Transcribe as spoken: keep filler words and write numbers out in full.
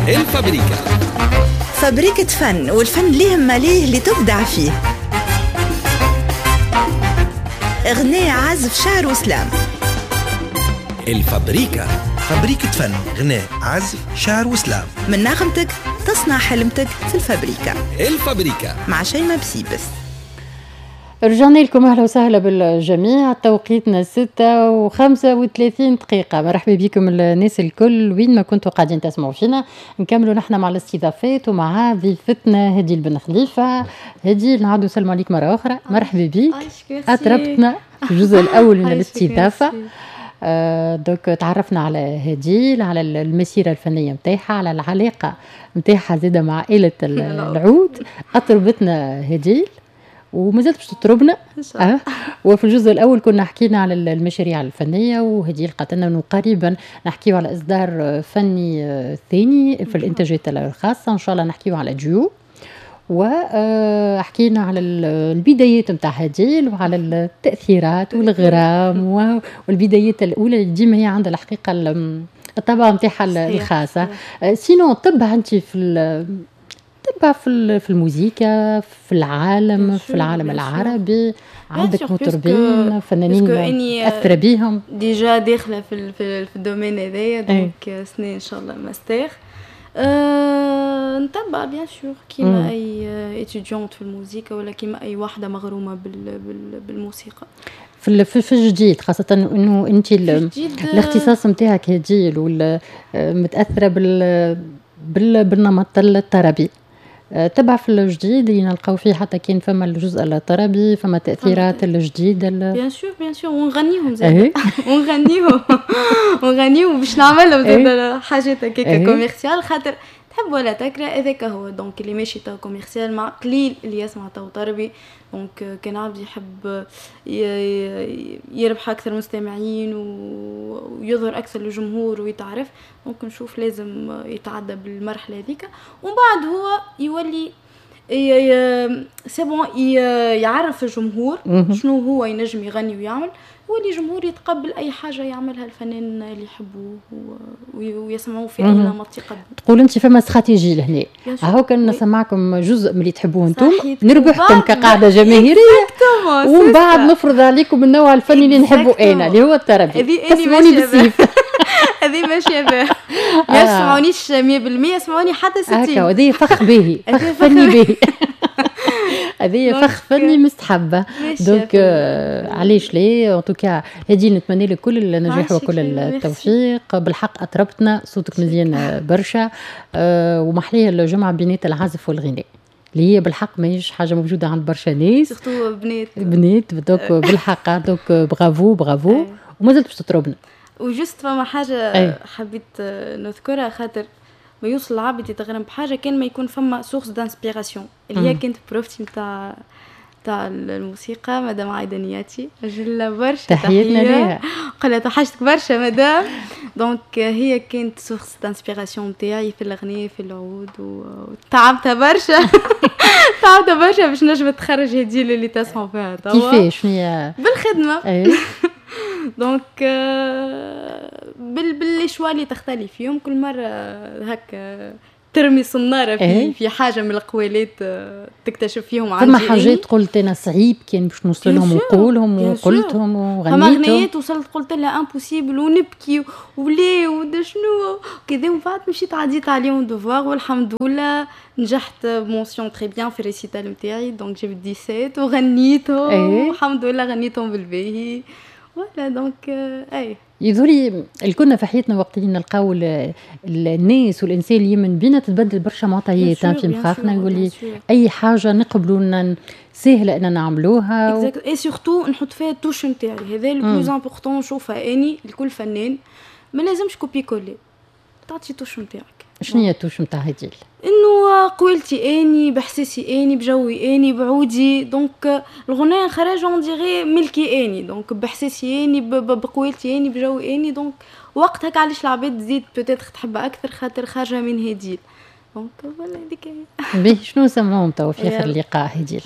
الفابريكا. فابريكة فن، والفن ليه ماليه اللي تبدع فيه. غناء، عزف، شعر و slam. الفابريكا. فابريكة فن، غناء، عزف، شعر و slam. من نغمتك تصنع حلمتك في الفابريكا. الفابريكا مع شيماء بسيبس. رجعنا لكم، اهلا وسهلا بالجميع. توقيتنا ستة وخمسة وثلاثين دقيقة. مرحبا بكم الناس الكل وين ما كنتوا قاعدين تسمعوا فينا. نكملوا نحن مع الاستضافات ومع ضيفتنا هديل بن خليفة. هديل، نعاودوا نسلموا عليك مرة أخرى، مرحبا بك، أطربتنا في الجزء الأول من الاستضافة. آه donc تعرفنا على هديل، على المسيرة الفنية نتاعها، على العلاقة نتاعها زادة مع آلة العود. أطربتنا هديل ومازالت باش تطربنا. أه. وفي الجزء الاول كنا حكينا على المشاريع الفنيه، وهديل قالت لنا انه قريبا نحكيو على اصدار فني ثاني في الانتاجات الخاصه، ان شاء الله نحكيو على ديو. وحكينا على البدايات نتاع هديل وعلى التاثيرات والغرام والبدايات الاولى اللي ديما هي عندها الحقيقة الطبع نتاعها الخاصه. sinon تبع انت في تبع في في الموسيقى في العالم، في العالم العربي، عندك مطربين فنانين تاثر بيهم؟ déjà داخله في في, في ال domaine هذايا، donc سنة ان شاء الله ماستر. أه نتبع bien sûr، كيما اي étudiante في الموسيقى ولا كيما اي واحدة مغرومه بال بال بالموسيقى. في في الجديد، خاصة انه انت الاختصاص نتاعك هديل متاثرة بال بالنمط الطربي، آه، تبع في الجديد اللي نلقاو فيه حتى كان فما الجزء الطربي، فما تاثيرات الجديده؟ bien sûr، bien sûr، ونغنيهم زاد، ونغنيهم ونغنيهم باش نعملهم زاد حاجات هكاك commercial، خاطر تحب ولا تكره هذاك هو donc اللي ماشي تو commercial، مع قليل اللي يسمع تو طربي. donc كان عبد يحب يربح اكثر مستمعين ويظهر اكثر للجمهور ويتعرف، donc نشوف لازم يتعدى بالمرحلة هذيك، ومن بعد هو يولي c'est bon يعرف الجمهور شنو هو ينجم يغني ويعمل، ولي الجمهور يتقبل اي حاجة يعملها الفنان اللي يحبوه ويسمعوه في اي نمط يقدم. تقول انت فما استراتيجي لهنا، هاو كان نسمعكم جزء من اللي تحبوه انتم، نربحكم كقاعدة جماهيرية، ومن بعد نفرض عليكم النوع الفني اللي نحبه انا اللي هو الطربي، تسمعوني بالسيف. هذه ماشية بها، ما يسمعونيش مية بالمية، يسمعوني حتى ستين. هكا هذه فخ باهي، فخ فني باهي، هذه فخ فني مستحبه. donc آه علاش لا؟ en tout cas هديل، نتمنى لك كل النجاح وكل التوفيق. بالحق اطربتنا، صوتك مزيان برشا، آه ومحليه الجمعة بينات العزف والغناء اللي هي بالحق ماهيش حاجة موجودة عند برشا ناس. surtout بنات. بنات، donc بالحق donc bravo bravo، ومازلت باش تطربنا. و juste فما حاجة أي. حبيت نذكرها، خاطر ما يوصل العبد يتغرم بحاجة كان ما يكون فما source d'inspiration، اللي هي كانت prof تي نتاع تاع الموسيقى، مدام عايدة نياتي، جلا برشا. تحياتنا ليها. قالها توحشتك برشا madame. donc هي كانت source d'inspiration نتاعي في الأغنية، في العود، وتعبتها برشا، تعبتها برشا باش نجم تخرج هديل اللي تسمعوا فيها توا. كيفاش هي؟ بالخدمه أيه. donc بال بال les choix اللي تختلف فيهم كل مرة هكا، ترمي صناره في إيه؟ في حاجة من القوالات آه، تكتشف فيهم. عندي فما حاجات قلت انا صعيب كان باش نوصل لهم ونقولهم وقلتهم وغنيتهم. فما غنيات وصلت قلت لها impossible ونبكي وليه ودا شنو كذا، ومن بعد مشيت عديت عليهم devoir، والحمد لله نجحت mention très bien في ال récital نتاعي، donc جبت سبعطاش وغنيتهم إيه؟ والحمد لله غنيتهم بالباهي، voilà donc اي. يظهرلي الكلنا في حياتنا وقت اللي نلقاو الناس والانسان اللي يمن بينا تتبدل برشا معطيات في مخاخنا، يولي اي حاجة نقبلوا سهلة ان نعملوها. et surtout نحط فيها ال touche نتاعي، هذا le plus important نشوفها اني لكل فنان، ما لازمش copier-coller، تعطي touche نتاعك. شنو هي ال touche نتاع هديل؟ انه قويلتي اني، بحساسي اني، بجوي اني، بعودي، donc الغناء خرج on dirait ملكي اني، donc بحساسي اني، بقويلتي اني، بجوي اني. donc وقتها علاش العباد تزيد peut-être تحبها اكثر، خاطر خارجه من هديل. donc voilà، هذيك. باهي، شنو نسمعوهم توا في اخر اللقاء هديل؟